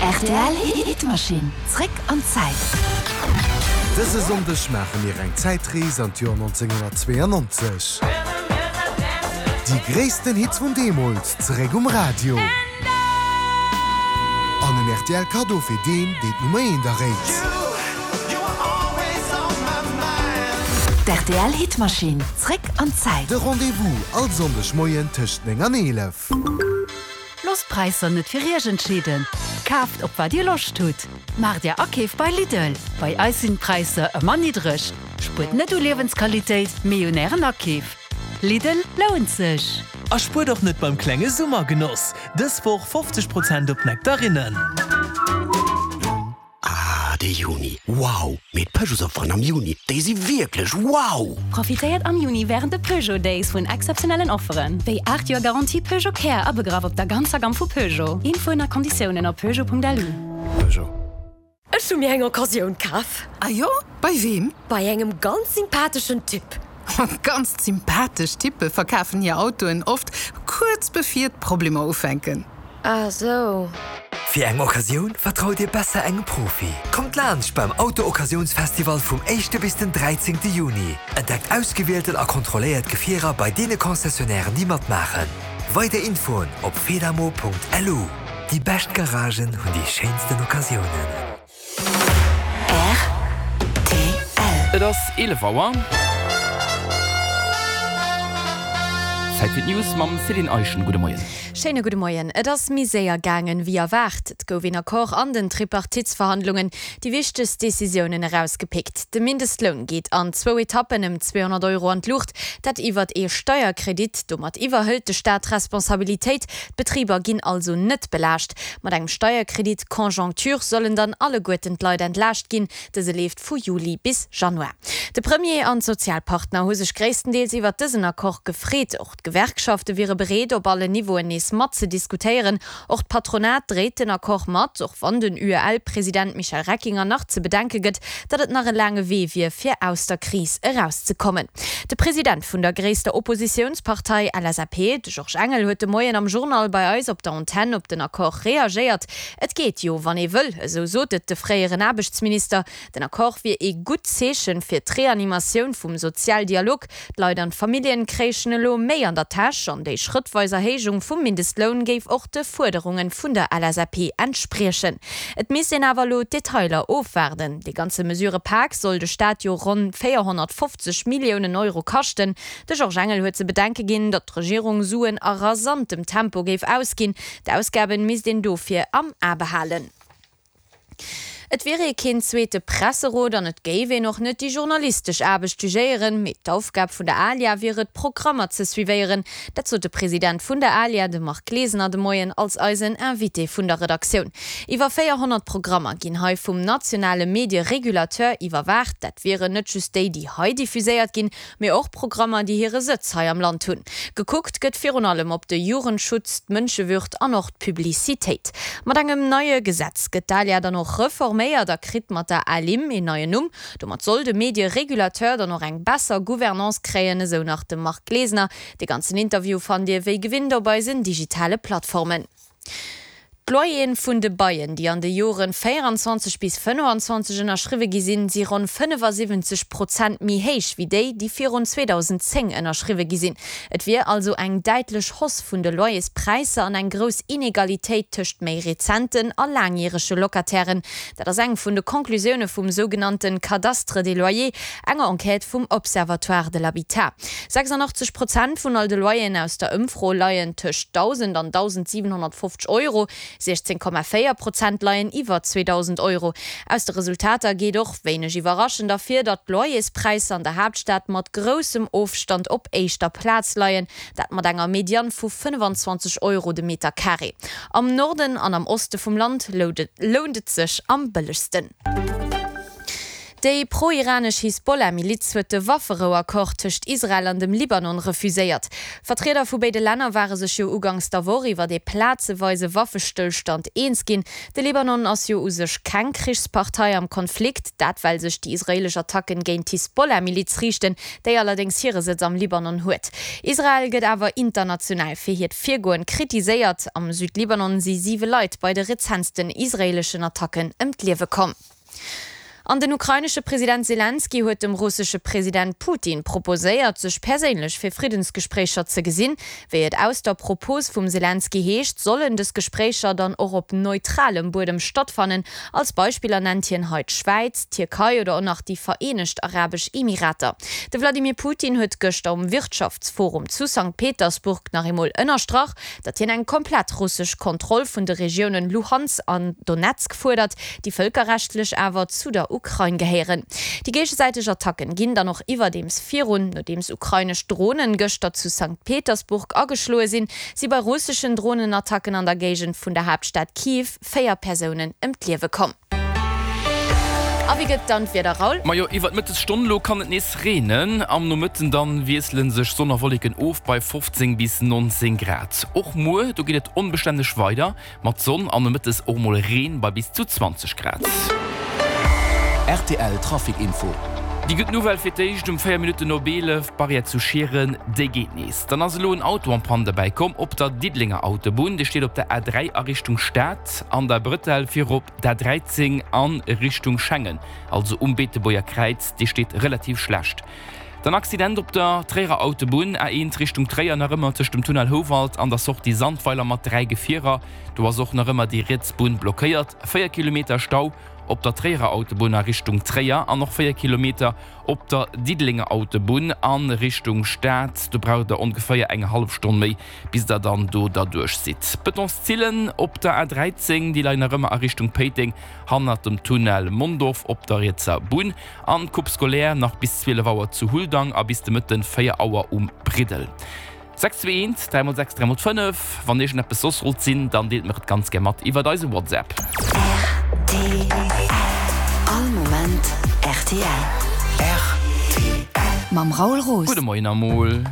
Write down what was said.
Rtl Hitmaschinn, zréck an d'Zäit. Dëse Sonndeg maache mir eng Zäitrees an d'Joer 1992. Déi gréissten Hits vun deemools zeréck um Radio. An en rtl Kaddo fir deen, deen d'Nummer eent erréit. D'RTL Hitmaschinn, zréck an d'Zäit. De Rendez-vous all Sonndeg Moien tëscht 9 an 11. Loosst d'Präisser net fir Iech entscheeden, kaaft op wat Dir Loscht hutt. Maacht Är Akeef bei Lidl, bei eis sinn d'Präisser ëmmer niddreg. Spuert net u Liewensqualitéit, mee un Ären Akeef. Lidl lount sech! A spuert och net beim klenge Summergenoss! Dës Woch 50 Prozent op Nektarinnen. Ah, de Juni, wow! Mee d'Peugeotsofferen am Juni, déi si wierklech wow! Profitéiert am Juni wärend de Peugeot Days vun exzeptionellen Offeren, wéi 8 Joer Garantie Peugeot Care abegraff op der ganzer Gamm vu Peugeot. Infoen a Konditiounen op peugeot.lu. Peugeot. Ech hu mir eng Occasioun kaf. Ah jo? Bei weem? Bei engem ganz sympatheschen Typ. Ganz sympathesch Typpe verkafen hir Autoen oft kuerz bevir d'Problemer ufänken. Ah sou. Fir eng Occasioun vertraut Dir besser engem Profi. Kommt laanscht beim Auto-Occasiounsfestival vum éischte bis den dräizéngte Juni. Entdeckt ausgewielten a kontrolléiert Gefierer bei deene Concessionnairen déi matmaachen. Weider Infoen op fedamo.lu. Déi bescht Garagen hunn déi schéinsten Occasiounen. Rtl. Et ass 11 Auer. Zäit fir d'News mam Céline Eischen. Gudde Moien. Schéine gudde Moien. Et ass méi séier gaangen, wéi erwaart. Et gouf een Accord an den Tripartitesverhandlungen, déi wichtegst Decisiounen erausgepickt. De Mindestloun geet an zwou Etappen ëm 200 Euro an d'Luucht, dat iwwert ee Steierkredit. Domat iwwerhëlt de Staat d'Responsabilitéit. D'Betriber ginn also net belaascht. Mat engem Steierkredit Conjoncture sollen dann alleguerten d'Leit entlaascht ginn. Dëse leeft vu Juli bis Januar. De Premier an d'Sozialpartner hu sech gréisstendeels iwwert dësen Accord gefreet. Och d'Gewerkschafte wiere bereet, op allen Niveauen nees matzediskutéieren. Och d'Patronat dréit den Accord mat, och wann den UEL-President Michel Reckinger nach ze bedenke gëtt, datt et nach e laange Wee wier, fir aus der Kris erauszekommen. De President vun der gréisster Oppositiounspartei LSAP, de Georges Engel, huet de Moien am Journal bei eis op der Antenn op den Accord reagéiert. Et geet jo, wann ee wëll, esou sot et de fréieren Aarbechtsminister. Den Accord wier ee gutt Zeechen fir d'Reanimatioun vum Sozialdialog. D'Leit an d'Familljen kréichen elo méi an der Täsch an déi schrëttweis Erhéijung vum Mindestloun géif och de Fuerderunge vun der LSAP entspriechen. Et misst een awer elo d'Detailer ofwaarden. Dee ganze Mesurëpak soll de Staat jo ronn 450 Milliounen Euro kaschten. De Georges Engel huet ze bedenke ginn, datt d'Regierung Suen a rasantem Tempo géif ausginn. D'Ausgaben misst een dofir am A behalen. Et wier ee keen zweete Presserot an et géif een och net déi journalistesch Aarbecht jugéieren, mee d'Aufgab vun der ALIA wier et, Programmer ze suivéieren. Dat sot de President vun der ALIA, de Marc Glesener, de Moien als eisen Invité vun der Redaktioun. Iwwer 400 Programmer ginn hei vum nationale Medie-Regulateur iwwerwaacht. Dat wieren net just déi, déi hei diffuséiert ginn, mee och Programmer, déi hire Sëtz hei am Land hunn. Gekuckt gëtt virun allem op de Jugendschutz, d'Mënschewürd an och d'Publicitéit. Mat engem neie Gesetz gëtt d'ALIA dann och reforméiert a kritt mat der ALIM een neien Numm. Domat soll de Medie-Regulateur dann och eng besser Gouvernance kréien, esou nach de Marc Glesener. De ganzen Interview fannt Dir wéi gewinnt op eisen digitale Plattformen. D'Loyeren vun de Baien, déi an de Joren 24 bis 25 ënnerschriwwe gi sinn, si ronn 75 Prozent méi héich wéi déi, déi virun 2010 ënnerschriwwe gi sinn. Et wier also eng däitlech Hausse vun de Loyerspräisser an eng grouss Inegalitéit tëscht méi rezenten a laangjärege Locatairen. Dat ass eng vun de Conclusioune vum sougenannte Cadastre des loyers, enger Enquête vum Observatoire de l'habitat. 86 Prozent vun all de Loyeren aus der Ëmfro leien tëscht 1.000 an 1.750 Euro, 16,4 Prozent leien iwwer 2.000 Euro. Aus de Resultater geet och, wéineg iwwerraschend, ervir, datt d'Loyerspräisser an der Haaptstad mat groussem Ofstand op éischter Plaz leien, dat mat enger Medianne vu 25 Euro de Meter Carré. Am Norden an am Oste vum Land lount et sech am bëllegsten. Déi pro-iranesch Hisbollah-Miliz huet de Wafferou-Accord tëscht Israel an dem Libanon refuséiert. Vertrieder vu béide Länner ware sech jo uganks der Woch iwwer ee plazeweise Waffestëllstand eens ginn. De Libanon ass jo u sech keng Krichspartei am Konflikt, dat well sech déi israeelesch Attacken géint d'Hisbollah-Miliz riichten, déi allerdéngs hire Sëtz am Libanon huet. Israel gëtt awer international fir hiert Virgoen kritiséiert. Am Südlibanon si siwe Leit bei de rezentsten israeeleschen Attacken ëm d'Liewe komm. An den ukrainesche President Selenskyj huet dem russesche President Putin proposéiert, sech perséinlech fir Friddensgespréicher ze gesinn. Wéi et aus der Propos vum Selenskyj heescht, sollen dës Gespréicher dann och op neutralem Buedem stattfannen. Als Beispiller nennt hien hei d'Schwäiz, d'Tierkei oder och nach déi Vereenegt Arabesch Emirater. De Wladimir Putin huet gëschter um Wirtschaftsforum zu Sankt Petersburg nach eemol ënnerstrach, datt hien eng komplett russesch Kontroll vun de Regiounen Luhansk an Donezk fuerdert, déi vëlkerrechtlech awer zu der Ukrain gehéieren. Déi géigesäiteg Attacken ginn dann och iwwerdeems virun. Nodeems ukrainesch Dronen gëschter zu Sankt Petersburg ageschloe sinn, si bei russeschen Dronenattacken an der Géigend vun der Haaptstad Kiew 4 Persounen ëm d'Liewe komm. A wéi gëtt dann d'Wieder, Raoul? Majo, iwwert d'Mëttesstonn elo kann et nees reenen. Am Nomëtten dann wiessele sech Sonn a Wolleken of bei 15 bis 19 Grad. Och muer, do geet et onbestänneg weider mat Sonn an nomëttes och mol Reen bei bis zu 20 Grad. Rtl Trafic Info. Déi gutt Nouvelle fir d'éischt, Um 4 Minutten op 11, d'Barrière zu Schieren, déi geet nees. Dann ass elo en Auto en panne derbäi komm op der Diddelenger Autobunn. Dee steet op der A3 a Richtung Stad an der Bretelle virop D'A 13 a Richtung Schengen, also um Beetebuerger Kräiz, déi steet relativ schlecht. Dann Accident op der Tréierer Autobunn, A 1 Richtung Tréier, nach ëmmer tëscht dem Tunnel Houwald an der Sortie Sandweiler mat 3 Gefierer. Do ass och nach ëmmer déi riets Bunn blockéiert. 4 Kilometer Stau op der Tréierer Autobunn a Richtung Tréier an och 4 Kilometer op der Diddelenger Autobunn a Richtung Stad. Do braucht der ongeféier eng hallef Stonn méi bis der dann do derduerch sidd. D'Betonszillen op der A 13, déi leien nach ëmmer a Richtung Péiteng hannert dem Tunnel Mondorf op der rietser Bunn an d'Coupe scolaire nach bis 12 Auer zu Huldang a bis de Mëtten 4 Auer um Briddel. 6 2 1 3 x 6 3 x 5 Wann iergendeppes soss sollt sinn, dann deelt mer et ganz gär mat iwwert eise WhatsApp. Rtl All Moment rtl. Mam Raoul Roos. Gudde Moien amol.